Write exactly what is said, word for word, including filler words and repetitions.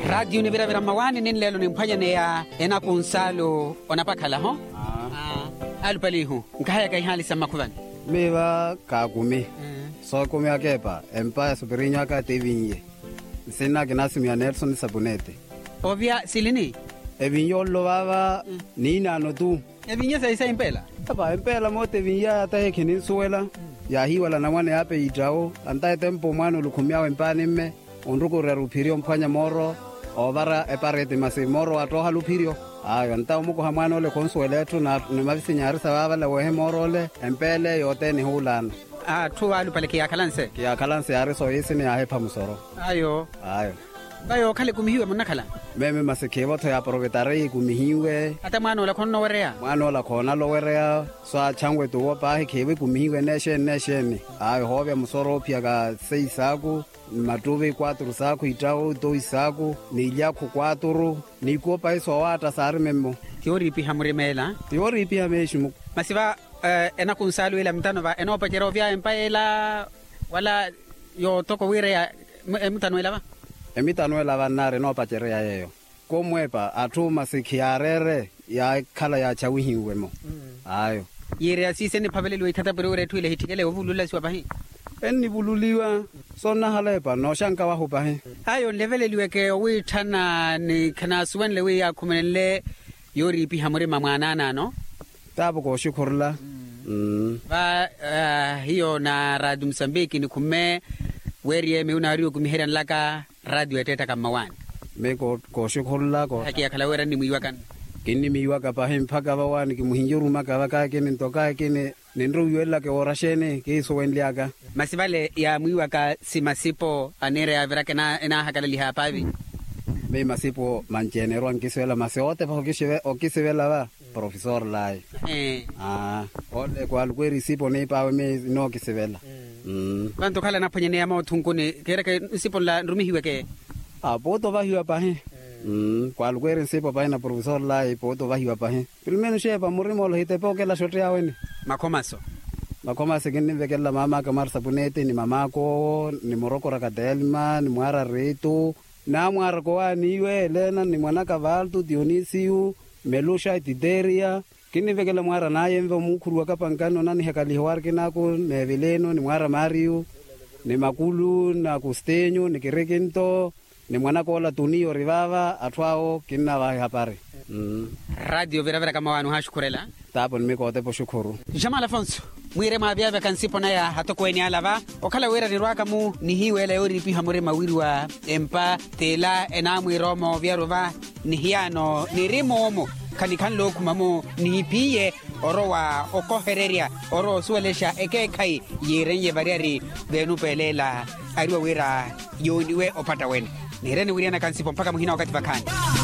Raatiyo niviravira mmawaani ninleelo nimphwanyaneya enakunsaalu onapakhala ho. Alupalihu nkahayaka ihaali sa mmakhuvani. Miiva kaakumi. Sookumi akeepa empa ya supiriinyu aka tiivinye. Nsinna kinaasimiya nelson sapuneti. Ovya silini. Evinye ollo vaava. Niinaano tu. Evinye sayi sayi mpeela. Apa empeela moota evinyaya tahi khininsuwela. Yaahiiwala namwane yaape yiittawo. Anta etempo mwaana olukhumyawe mpaani mme. Onrukuryari ophiri omphwanya mooro. Oovara epareti masi mooro waattoohala ophiryo. Ayo anta omukoha mwaana ole khonsuwela etthu. Ni mavisinyaari sa vaavala weehe mooro ole empeela eyo othene ehuulaana. Atthu vaalupale khiyaakhalanse. Khiyaakhalanse yaari sooyiisini yaahepha musoro. Ayo. Ayo. Vayookhala ekumihiwe munnakhala. Meme masi khiivo-tho ya aprovetari ekumihiwe. Ata mwaan'ola khonnowereya. Mwaan'ola khoonala owereya. So achanwe tuwo paahi khiivo ekumihiwe neexeeni neexeeni. Ayo hoovya musoro oophiyaka seis saaku, ni mattuvi kwaturu saaku ittawo itowi saaku, ni ilyakhu kwaturu. Ni ikuwo paahi soowaatta saari memmo. Ti yooriipiha murima ela. Ti yooriipiha meeximu. Masi va enakunsaalu ela mutano va enoopacerya ovya empa ela wala yoottoko wira ya emutano ela va. Emitano ela va nnaari enoopacerya yeeyo. Komweepa atthu masi khiyaareere yaakhala yaachawihiwe-mo. Ayo. Yiireya siise enniphaveleliwa ithatapiri wira etthu ila ehitthikele ovululasiwa pahi. Ennivululiwa. Sonnahala epa nooxanka wahu pahi. Ayo nleveleliweke owiitthana ni khanaasuwenle wi yaakhumelenle yooriipiha murima mwaanaanaano. Taapo kooxikhurula. Va hiyo na raatiyo musambiki nikhumme weeriye miyo naariwa okumiherya nlaka. Raatiyo ettettaka mmawaani. Miyo kooxikhurula ko. Akiyakhala wira nnimwiiwaka. Kinnimiiwaka pahi mpakha vawaani kimuhinji orumaka vakakini ntokakini. Ninrowiwelelaka ewooraxeeni kiisuwenlyaka. Masi vale yaamwiiwaka simasipo aniira yaaviraka enaahakalaliha paavi. Miyo masipo manci enerwa nkisivela masi otepa okisivela va profesor layi. Ole kwaalukweeri isipo niipaawe miyo inookisivela. Vantu okhala anaphwanyaneya mootthunkuni keereke nsipo nla nrumihiweke. Apuuta ovahiwa pahi. Kwaalukweeri nsipo pahi na profesor layi puuta ovahiwa pahi. Pilumeni oxeepa murima ole ohitepe okela xotteyaweni. Makhomaso. Makhomasi kinnimvekelela maam'aka marsa puneti ni mam'aka owo ni murokoraka telma ni mwaara riitu. Naamwaaraka owaaniiwe elena ni mwan'aka valtu dionisiyu meluxa etiteriya. Kinnimvekelela mwaara nayenve omuukhuruwaka pankani onanihakaliha owarkin'aku n'eveleno ni mwaara mariyu ni makulu n'akustinyu ni kirikinto. Ni mwanaka ola tuniya ori vaava atthu awo kinnavaha ehapari. Raatiyo viraviraka mmawaani ohaaxukhurela. Taapo nimikootepa oxukhuru. Jamal afonso, mwiire mwaavyaavyaka nsipo naya atokweeni ala va okhala wira nirwaka-mu nihiiweela yooriipiha murima wiriwa empa t'ela enaamwiira omoovyaru va. Nihiyaano niri moomo khanikhanle okhuma-mu nihiphiye orowa okohererya orowa osuwelexa ekeekhayi yiiren'ye variyari veenupelela. Ariwa wira yooniwe opatta wene. Niireni wiriyanaka nsipo mpakha muhina wakathi vakhaani.